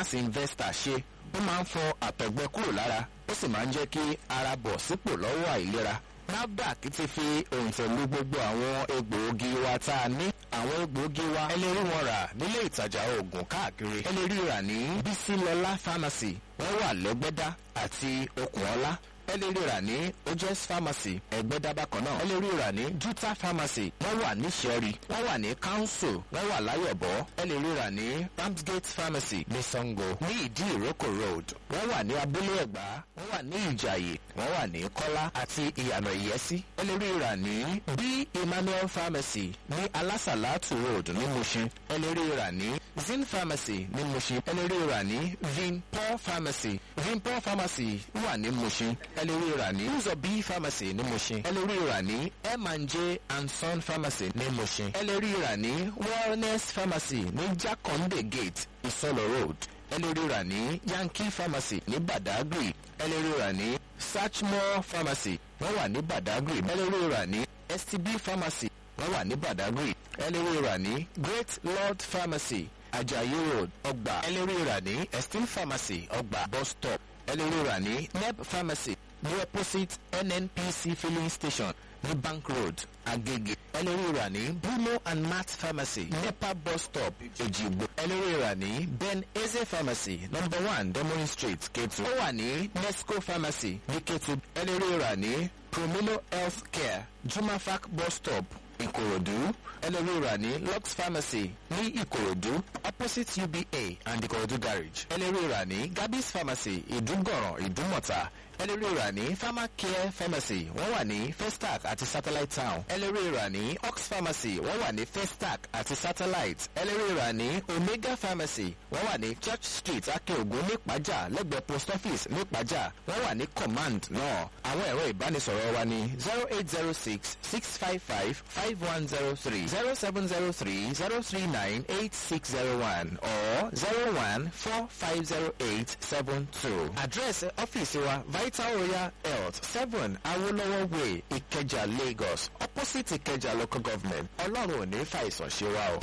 Mass Investor ṣe. Ó máa ń fọ àtọ̀gbẹ kúrò lára, ó sì máa ń jẹ́ kí ara bọ̀ sípò lọ́wọ́ àìlera. NAFDAC ti fi òǹtẹ̀ lu gbogbo àwọn egbòogi wa tá a ní. Àwọn egbòogi wa, ẹ lè rí wọn rà nílé ìtajà oògùn káàkiri. Ẹ lè rí rà ní Bísílọ́lá Pharmacy, wọ́n wà lẹ́gbẹ́dá àti Okùnọ́lá. Ẹ lè rí rà ní Ojes Pharmacy, Ẹgbẹ́dá bákan náà. Ẹ lè rí rà ní Juta Pharmacy, wọ́n wà ní Ṣẹ́rí, wọ́n wà ní Council, wọ́n wà Láyọ̀bọ̀. Ẹ lè rí rà ní Ramsgate Pharmacy ní Sango, ní Ìdí Ìrókò Road, wọ́n wà ní Abúlé Ẹ̀gbá, wọ́n wà ní Ìjàyè, wọ́n wà ní Kọ́lá àti Ìyànà Ìyẹ́sí. Ẹ lè rí rà ní B Emmanuel Pharmacy ní Alásàlátù Road ní Mushin. Ẹ lè rí rà ní Zin Pharmacy ní Mushin. Ẹ lè rí rà ní Vinpol Pharmacy. Vinpol Pharmacy wà ní Mushin. Ẹ lè rí rà ní Uzobi Pharmacy ní Mushin. Ẹ lè rí rà ní M&J and Son Pharmacy ní Mushin. Ẹ lè rí rà ní Wellness Pharmacy ní Jakande Gate, Isolo Road. Ẹ lè rí rà ní Yankee Pharmacy ní Badagry. Ẹ lè rí rà ní Satchmore Pharmacy, wọ́n wà ní Badagry. Ẹ lè rí rà ní STB Pharmacy, wọ́n wà ní Badagry. Ẹ lè rí rà ní Great Lord Pharmacy, Ajayi Road, Ọgbà. Ẹ lè rí rà ní Esteem Pharmacy, Ọgbà bus stop. Ẹ lè rí rà ní Neb Pharmacy ní opposite NNPC filling station ní Bank Road, Agege. Ẹ lè rí rà ní Bruno and Matt Pharmacy, NEPA bus stop, Èjìgbò. Ẹ lè rí rà ní Ben Eze Pharmacy, number 1 Demorin Street, Ketu. Ó wà ní Nesco Pharmacy ní Ketu. Ẹ lè rí rà ní Promino Health Care, Jumafac bus stop, Ìkòròdú. Ẹ lè rí rà ní Lux Pharmacy ní Ìkòròdú, opposite UBA and Ìkòròdú Garage. Ẹ lè rí rà ní Gabis Pharmacy, Ìdúgọ̀ràn, Ìdúmọ̀tà. Ẹ lè rí rà ní Pharmacare Pharmacy, wọ́n wà ní Festac àti Satellite Town. Ẹ lè rí rà ní Ox Pharmacy, wọ́n wà ní Festac àti Satellite. Ẹ lè rí rà ní Omega Pharmacy, wọ́n wà ní Church Street, Akeogun, nípàjà, lẹ́gbẹ̀ẹ́ post office nípàjà. Wọ́n wà ní Command náà. Àwọn ẹ̀rọ ìbánisọ̀rọ̀ wa ní 08066555103, 07030398601 or 01450872. Àdírẹ́sì ọ́fíìsì wa, Vital Royal Health, 7 Awolowo Way, Ìkẹjà, Lagos, opposite Ìkẹjà Local Government. Ọlọ́run ò ní fàìsàn ṣe wa o.